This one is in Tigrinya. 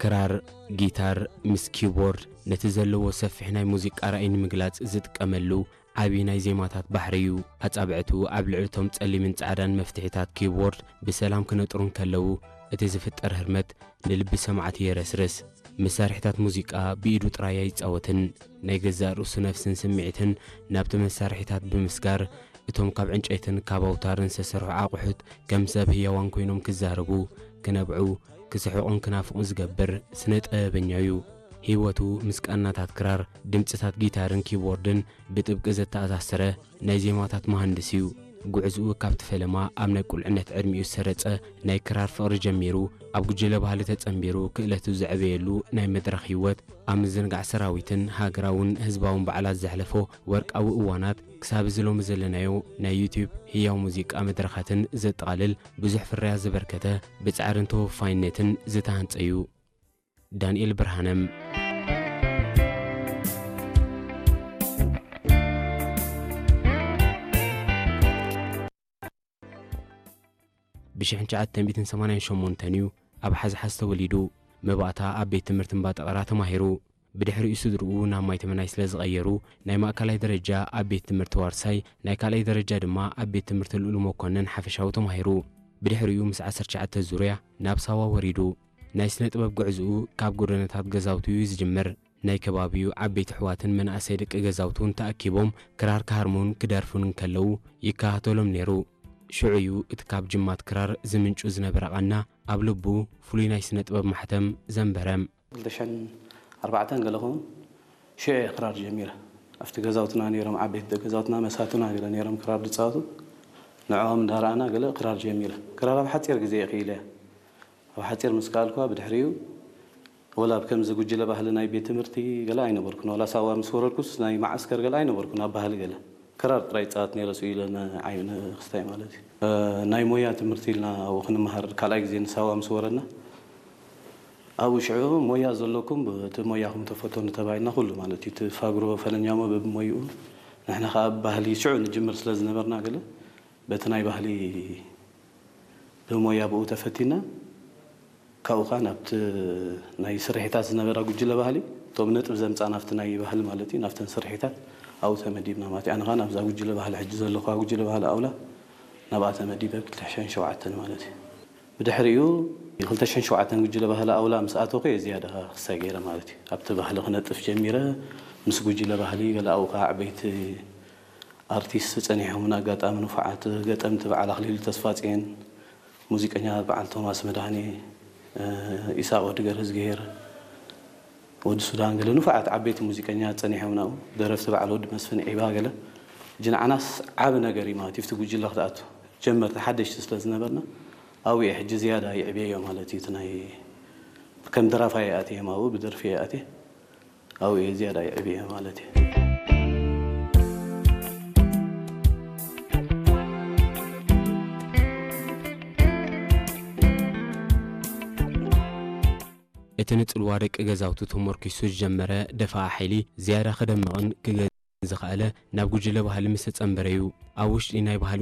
ክራር፣ ጊታር ምስ ኪቦርድ ነቲ ዘለዎ ሰፊሕ ናይ ሙዚቃ ራእይ ንምግላጽ ዝጥቀመሉ ዓቢ ናይ ዜማታት ባሕሪ እዩ። ኣጻብዕቱ ኣብ ልዕሊ እቶም ጸሊምን ጻዕዳን መፍትሒታት ኪቦርድ ብሰላም ክነጥሩ እንከለዉ፣ እቲ ዝፍጠር ህርመት ንልቢ ሰማዕቲ የረስርስ። መሳርሒታት ሙዚቃ ብኢዱ ጥራይ ኣይጻወትን። ናይ ገዛእ ርእሱ ነፍስን ስምዒትን ናብቲ መሳርሒታት ብምስጋር፣ እቶም ካብ ዕንጨይትን ካብ ኣውታርን ዝተሰርሑ ኣቑሑት ከም ሰብ ህያዋን ኮይኖም ክዛረቡ፣ ክነብዑ፣ ክስሕቑን ክናፍቑን ዝገብር ስነ ጥበበኛ እዩ። ህይወቱ ምስ ቃናታት ክራር፣ ድምጽታት ጊታርን ኪቦርድን ብጥብቂ ዘተኣሳሰረ ናይ ዜማታት መሃንድስ እዩ። ጉዕዝኡ ካብቲ ፈለማ ኣብ ናይ ቁልዕነት ዕድሚኡ ዝሰረጸ ናይ ክራር ፍቕሪ ጀሚሩ፣ ኣብ ጉጅለ ባህሊ ተጸንቢሩ ክእለቱ ዘዕበየሉ ናይ መድረኽ ህይወት፣ ኣብ ምዝንጋዕ ሰራዊትን ሃገራውን ህዝባውን በዓላት ዘሕለፎ ወርቃዊ እዋናት፣ ክሳብ እዚ ሎሚ ዘለናዮ ናይ ዩትዩብ ህያው ሙዚቃ መድረኻትን ዘጠቓልል ብዙሕ ፍርያት ዘበርከተ፣ ብጻዕርን ተወፋይነትን ዝተሃንጸ እዩ። ዳንኤል ብርሃነ። ብ ሽሕን ትሽዓተ ሚእትን ሰማንያን ሸሞንተን እዩ ኣብ ሓዝሓዝ ተወሊዱ። መባእታ ኣብ ቤት ትምህርቲ እምባ ጠቐራ ተማሂሩ። ብድሕሪኡ ስድርኡ ናብ ማይ ተመናይ ስለ ዝቐየሩ፣ ናይ ማእከላይ ደረጃ ኣብ ቤት ትምህርቲ ዋርሳይ፣ ናይ ካልኣይ ደረጃ ድማ ኣብ ቤት ትምህርቲ ልኡል መኮነን ሓፈሻዊ ተማሂሩ። ብድሕሪኡ ምስ ዓሰርተ ትሽዓተ ዙርያ ናብ ሳዋ ወሪዱ። ናይ ስነ ጥበብ ጉዕዝኡ ካብ ጎደናታት ገዛውቱ እዩ ዝጅምር። ናይ ከባቢኡ ዓበይቲ ኣሕዋትን መናእሰይ ደቂ ገዛውቱን ተኣኪቦም ክራር ክሃርሙን ክደርፉን እንከለዉ ይከታተሎም ነይሩ። ሽዑ እዩ እቲ ካብ ጅማት ክራር ዝምንጩ ዝነበረ ቃና ኣብ ልቡ ፍሉይ ናይ ስነ ጥበብ ማሕተም ዘንበረ። ክልተ ሽሕን ኣርባዕተን ገለ ኸውን ሽዑ እየ ክራር ጀሚረ። ኣብቲ ገዛውትና ነይሮም፣ ዓበይቲ ገዛውትና መሳቱና ገለ ነይሮም ክራር ዝጻወቱ። ንዕኦም እንዳረኣና ገለ ክራር ጀሚረ። ክራር ኣብ ሓጺር ግዜ እየ ክኢለያ። ኣብ ሓጺር ምስ ከኣልኩዋ ብድሕሪኡ ወላ ኣብ ከምዚ ጉጅለ ባህሊ ናይ ቤት ትምህርቲ ገለ ኣይነበርኩን። ወላ ሳዋ ምስ ወረድኩስ ናይ መዓስከር ገለ ኣይነበርኩን። ኣብ ባህሊ ገለ ክራር ጥራይ ይጻወት ነይረ፣ ስኡ ኢለ ንዓይ ንክስታይ ማለት እዩ። እ፣ ናይ ሞያ ትምህርቲ ኢልና ኣብኡ ክንመሃር ካልኣይ ግዜ ንሳዋ ምስ ወረድና፣ ኣብኡ ሽዑ ሞያ ዘለኩም እቲ ሞያኹም ተፈተኑ ተባሂልና፣ ኩሉ ማለት እዩ። እቲ ፋግሮ ፈለኛሞ በብሞይኡ፣ ንሕና ከኣ ባህሊ ሽዑ ንጅምር ስለ ዝነበርና ገለ በቲ ናይ ባህሊ ብሞያ ብኡ ተፈቲና፣ ካብኡ ኸዓ ናብቲ ናይ ስርሒታት ዝነበራ ጉጅለ ባህሊ፣ እቶም ነጥብ ዘምጻ ናብቲ ናይ ባህሊ ማለት እዩ፣ ናብተን ስርሒታት ኣብኡ ተመዲብና ማለት እዩ። ኣነ ኸዓ ናብዛ ጉጅለ ባህሊ ሕጂ ዘለኹዋ ጉጅለ ባህሊ ኣውላ ናብኣ ተመዲበ ክልተ ሽሕን ሸውዓተን ማለት እዩ። ብድሕሪኡ ክልተ ሽሕን ሸውዓተን ጉጅለ ባህሊ ኣውላ ምስ ኣተኹ እየ ዝያዳ ክሳይ ገይረ ማለት እዩ። ኣብቲ ባህሊ ክነጥፍ ጀሚረ፣ ምስ ጉጅለ ባህሊ ገለ ኣብኡ ኸዓ ዓበይቲ ኣርቲስት ጸኒሖምን ኣጋጣሚ ንፉዓት ገጠምቲ በዓል ኣኽሊሉ ተስፋጽዮን፣ ሙዚቀኛታት በዓል ቶማስ መድሃኔ፣ እ፣ ኢሳቕ ወዲ ገርህዝግሄር፣ ወዲ ሱዳን ገለ ንፉዓት ዓበይቲ ሙዚቀኛታት ጸኒሖም ናብኡ፣ ደረፍቲ በዓል ወዲ መስፍን ዒባ ገለ። ሕጂ ንዓናስ ዓቢ ነገር እዩ ማለት እዩ፣ ኣብቲ ጉጅለ ክትኣቱ። ጀመርቲ ሓደሽቲ ስለ ዝነበርና፣ ኣብኡ እየ ሕጂ ዝያዳ ይዕብየዮ ማለት እዩ። እቲ ናይ ከም ደራፋይ እየ ኣትየ፣ ኣብኡ ብደርፊ እየ ኣትየ። ኣብኡ እየ ዝያዳ ይዕብየ ማለት እዩ። እቲ ንጽልዋ ደቂ ገዛውቱ ተመርኪሱ ዝጀመረ ደፋኣ ሓይሊ ዝያዳ ክደምቕን ክገዝእን ዝኸኣለ ናብ ጉጅለ ባህሊ ምስ ተጸንበረ እዩ። ኣብ ውሽጢ ናይ ባህሊ